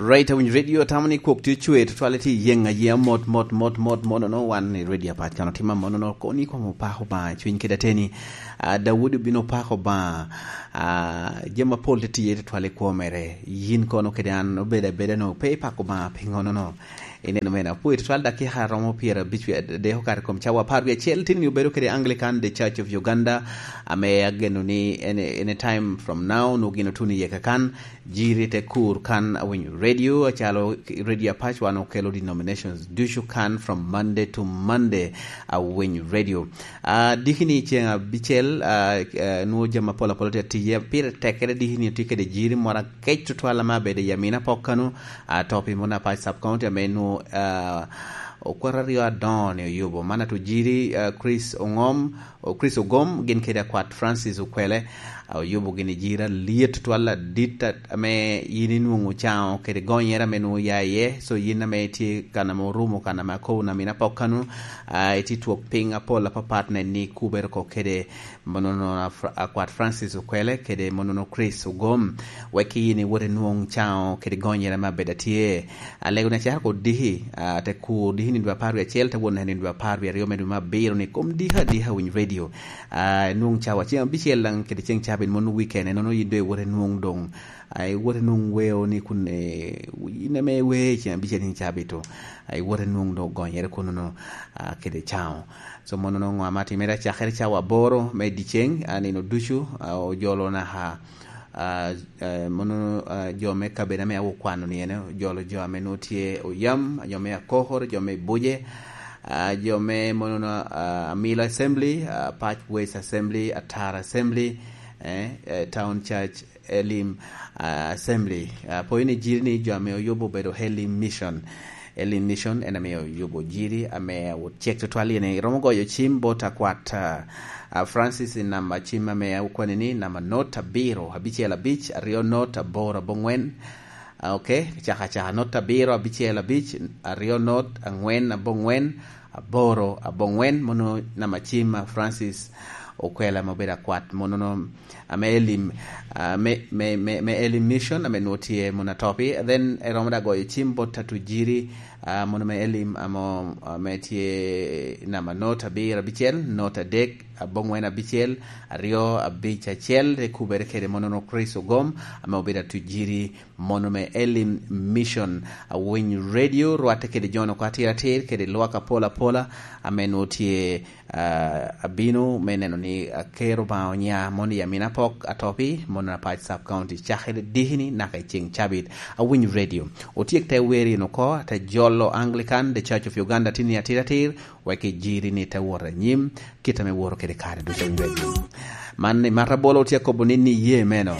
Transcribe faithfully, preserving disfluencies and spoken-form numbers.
Right, awinyo radio tamo ni kwok tye cwer, tutwale tye yeŋ ayeŋa mot, mot, mot, mot, mot, no, wan i radio apat kan otimo amono, no, koni kwamo pako ba, cwiny kede ateni. Ah, Daudi obino pako ba, ah, jami apol tye tiye tutwale kwo mere. Yin kono kede an obedo abeda no, pe ipako ba, pingo no, no. Ineno mena, apoyo tutwal dakika romo pyera abic wie adek okato i kom cawa apar wie acel, tin ni obedo kede Anglican, The Church of Uganda, ame ageno ni any, any time from now, no gin otuno iye kakan, jiri te kur kan awinyo radio, acalo radio apac wan okelo denominations ducu kan from Monday to Monday awinyo radio. Ah, diki ni ceng abicel, ah, eh, nwo jami apol apol tye tiye, pire tek kede diki ni tye kede jiri moro akec tutwal ame abedo i Amina pok kanu, ah, topi mona apac sub county ame nwo, ah, okwero aryo adoŋo ni oyubo. Man ato jiri, ah, Chris Ongom, o Chris Ogom, gin kede akwat Francis Okwele, ah, oyubo gini jiri alyet tutwal adit a-, ame yin inwoŋo caŋo kede gonyere ame nwoŋo ya iye. So yin ame itye kan ame orumo, kan ame akobo na mina pok kanu, ah, itye twok piny apol apapat nen ni kubere oko kede monono a Fra-, akwat Francis Okwele kede monono Chris Ogom. Wek yin iwot inwoŋ caŋo kede gonyere ame abedo atye. Alego ni acakere ko diki, ah, te kur diki ni dwe apar wie acel, te wot neno ni dwe apar wie aryo me dwe me abiro ni kom diki adika winy radio. Ah, nwoŋ cawa ceng abicel daŋ kede ceng cabit mono weekend, enono yin doŋ iwoto inwoŋ doŋ, ah, iwoto inwoŋ weo ni kun, eh, in ame iweo i ceng abicel ceng cabit to, ah, iwoto inwoŋ doŋ gonyere kunono, ah, kede caŋo. So mono nongo ŋo ame atimere acakere cawa aboro me dyeceng, ah, nino ducu, ah, ojolo naka, ah, eh, mono, ah, jo me kabedo ame akwano ni ene, ojolo jo ame nwoŋo tye Oyam, jo me Akokor, jo me Buje, ah, jo me mono, ah, Amilo Assembly, ah, Pac West Assembly, Atara Assembly, eh, eh, Town Church, Elim, ah, Assembly. Ah, poyo ni jiri ni jo ame oyubo obedo Elim Mission. Elim Mission en ame oyubo jiri ame awot cek tutwal, yen iromo goyo cim bot akwat, ah, ah, Francis i namba cim ame okwani ni namba not abiro abicel abic aryo not aboro aboŋwen. Ah, ok, caka caka not abiro abicel abic aryo not aŋwen aboŋwen aboro aboŋwen, mono namba cim a Francis Okwela ame obedo akwat, mono no ame Elim, ah, me, me, me, me Elim Mission ame nwoŋo tye mono atopi. Then eromo da goyo cim bot atujiri, ah, mono me Elim amo, ame tye namba not abiro abicel, not adek, aboŋwen abicel, aryo abic acel, te kubere kede mono no Chris Ogom ame obedo atujiri mono me Elim Mission. Awiny radio rwatte kede jono ko atir atir kede lwak apol apola ame nwoŋo tye, ah, abino me neno ni akero Obaŋa onya mono i Amina pok atopi, mono Apac Sub County, cakere dikini naka i ceŋ cabit. Awiny radio. Otyek te wer in oko, te jolo Anglican, The Church of Uganda, tini atir atir, wek ijiri ni te wot anyim, kit ame woro kede kare ducu. Awiny radio. Man ni Marta Bolo otye akobo ni, ni ye meno.